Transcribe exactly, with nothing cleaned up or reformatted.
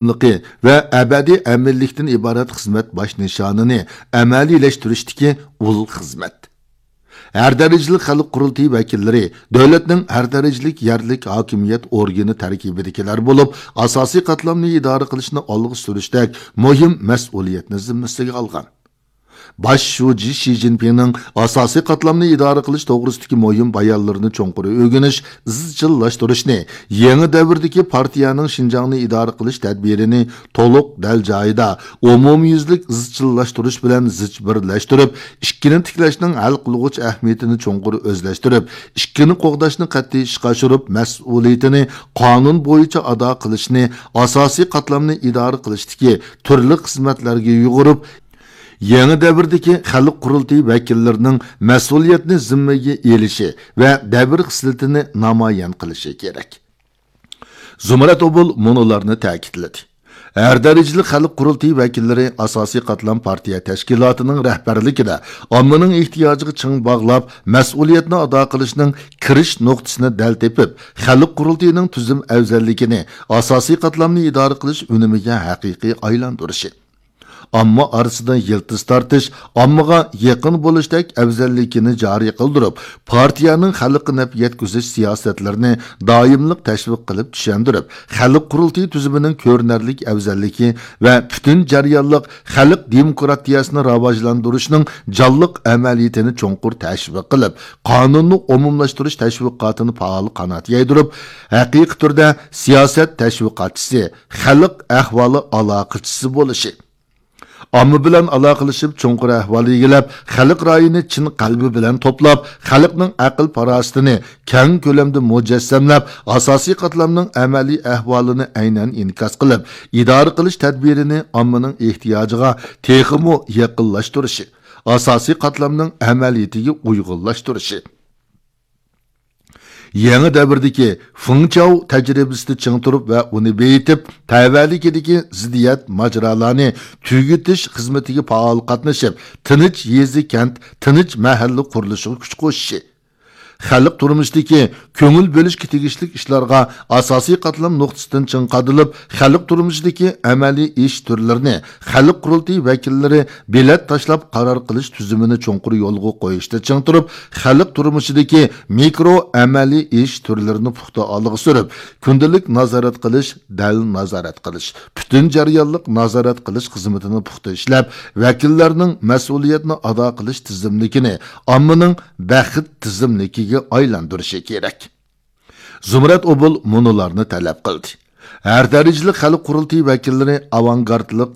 داۋاملىقى ۋە ئەبەدىي ئەمىنلىكتىن ئىبارەت خىزمەت باش نىشانىنى ئەمەلىيلەشتۈرۈشتىكى ئۇل خىزمەت. ھەر دەرىجىلىك خەلق قۇرۇلتىيى ۋەكىللىرى دۆلەتنىڭ ھەر دەرىجىلىك يەرلىك ھاكىمىيەت ئورگىنى تەركىبىدىكىلەر بولۇپ، ئاساسىي قاتلامنى ئىدارە قىلىشنى ئالغا سۈرۈشتەك مۇھىم مەسئۇلىيەتنى زىممىسىگە ئالغان. باش شۇجى شى جىنپىڭنىڭ ئاساسىي قاتلامنى ئىدارە قىلىش توغرىسىدىكى مۇھىم بايانلىرىنى چوڭقۇر ئۆگىنىش، ئىزچىللاشتۇرۇشنى، يېڭى دەۋردىكى پارتىيەنىڭ شىنجاڭنى ئىدارە قىلىش تەدبىرىنى تولۇق دەل جايىدا، ئومۇميۈزلۈك ئىزچىللاشتۇرۇش بىلەن زىچ بىرلەشتۈرۈپ، ئىككىنى تىكلەشنىڭ ھەل قىلغۇچ ئەھمىيىتىنى چوڭقۇر ئۆزلەشتۈرۈپ، ئىككىنى قوغداشنى قەتئىي ئىشقا ئاشۇرۇپ، مەسئۇلىيىتىنى قانۇن بويىچە ئادا قىلىشنى ئاساسىي قاتلامنى ئىدارە قىلىشتىكى تۈرلۈك خىزمەتلەرگە يۇغۇرۇپ، يېڭى دەۋردىكى خەلق قۇرۇلتىيى ۋەكىللىرىنىڭ مەسئۇلىيەتنى زىممىگە ئېلىشى ۋە دەۋر خىسلىتىنى نامايان قىلىشى كېرەك. زۇمرەت ئوبۇل مۇنۇلارنى تەكىتلىدى. ھەر دەرىجىلىك خەلق قۇرۇلتىيى ۋەكىللىرى ئاساسىي قاتلام پارتىيە تەشكىلاتىنىڭ رەھبەرلىكىدە ئاممىنىڭ ئېھتىياجىغا چىڭ باغلاپ، مەسئۇلىيەتنى ئادا قىلىشنىڭ كىرىش نۇقتىسىنى دەل تېپىپ، خەلق قۇرۇلتىيىنىڭ تۈزۈم ئەۋزەللىكىنى ئاساسىي قاتلامنى ئىدارە قىلىش ئۈنۈمىگە ھەقىقىي ئايلاندۇرۇشى، ئامما ئارىسىدا يىلتىز تارتىش، ئاممىغا يېقىن بولۇشتەك ئەۋزەللىكىنى جارى قىلدۇرۇپ، پارتىيەنىڭ خەلققە نەپ يەتكۈزۈش سىياسەتلىرىنى دائىملىق تەشۋىق قىلىپ چۈشەندۈرۈپ، خەلق قۇرۇلتىيى تۈزۈمىنىڭ كۆرۈنەرلىك ئەۋزەللىكى ۋە پۈتۈن جەريانلىق خەلق دېموكراتىيەسىنى راۋاجلاندۇرۇشنىڭ جانلىق ئەمەلىيىتىنى چوڭقۇر تەشۋىق قىلىپ، قانۇننى ئومۇملاشتۇرۇش تەشۋىقاتىنى پائال قانات يايدۇرۇپ، ھەقىقىي تۈردە سىياسەت تەشۋىقاتچىسى، خەلق ئەھۋالى ئالاقىچىسى بولۇشى، ئامما بىلەن ئالاقىلىشىپ، چوڭقۇر ئەھۋال ئىگىلەپ، خەلق رايىنى چىن قەلبى بىلەن توپلاپ، خەلقنىڭ ئەقىل-پاراسىتىنى كەڭ كۆلەمدە مۇجەسسەملەپ، ئاساسىي قاتلامنىڭ ئەمەلىي ئەھۋالىنى ئەينەن ئىنكاس قىلىپ، ئىدارە قىلىش تەدبىرىنى ئاممىنىڭ ئېھتىياجىغا تېخىمۇ يېقىنلاشتۇرۇشى، ئاساسىي قاتلامنىڭ ئەمەلىيىتىگە ئۇيغۇنلاشتۇرۇشى. يېڭى دەۋردىكى فېڭچاۋ تەجرىبىسىدە چىڭ تۇرۇپ ۋە ئۇنى بېيىتىپ، تەۋەلىكىدىكى زىددىيەت ماجىرالارنى تۈگىتىش خىزمىتىگە پائال قاتنىشىپ، تىنچ يېزا، كەنت، تىنچ مەھەللە قۇرۇلۇشىغا كۈچ قوشۇشى، خەلق تۇرمۇشىدىكى كۆڭۈل بۆلۈشكە تېگىشلىك ئىشلارغا ئاساسىي قاتلام نۇقتىسىدىن چىڭ قادىلىپ، خەلق تۇرمۇشىدىكى ئەمەلىي ئىش تۈرلىرىنى خەلق قۇرۇلتىيى ۋەكىللىرى بېلەت تاشلاپ قارار قىلىش تۈزۈمىنى چوڭقۇر يولغا قويۇشتا چىڭ تۇرۇپ، خەلق تۇرمۇشىدىكى مىكرو ئەمەلىي ئىش تۈرلىرىنى پۇختا ئالغا سۈرۈپ، كۈندىلىك نازارەت قىلىش، دەل نازارەت قىلىش، پۈتۈن جەريانلىق نازارەت قىلىش خىزمىتىنى پۇختا ئىشلەپ، ۋەكىللەرنىڭ مەسئۇلىيەتنى ئادا قىلىش تىزىملىكىنى ئاممىنىڭ بەخت تىزىملىكىگە ئايلاندۇرۇشى كېرەك. زۇمرەت ئوبۇل مۇنۇلارنى تەلەپ قىلدى. ھەر دەرىجىلىك خەلق قۇرۇلتىيى ۋەكىللىرى ئاۋانگارتلىق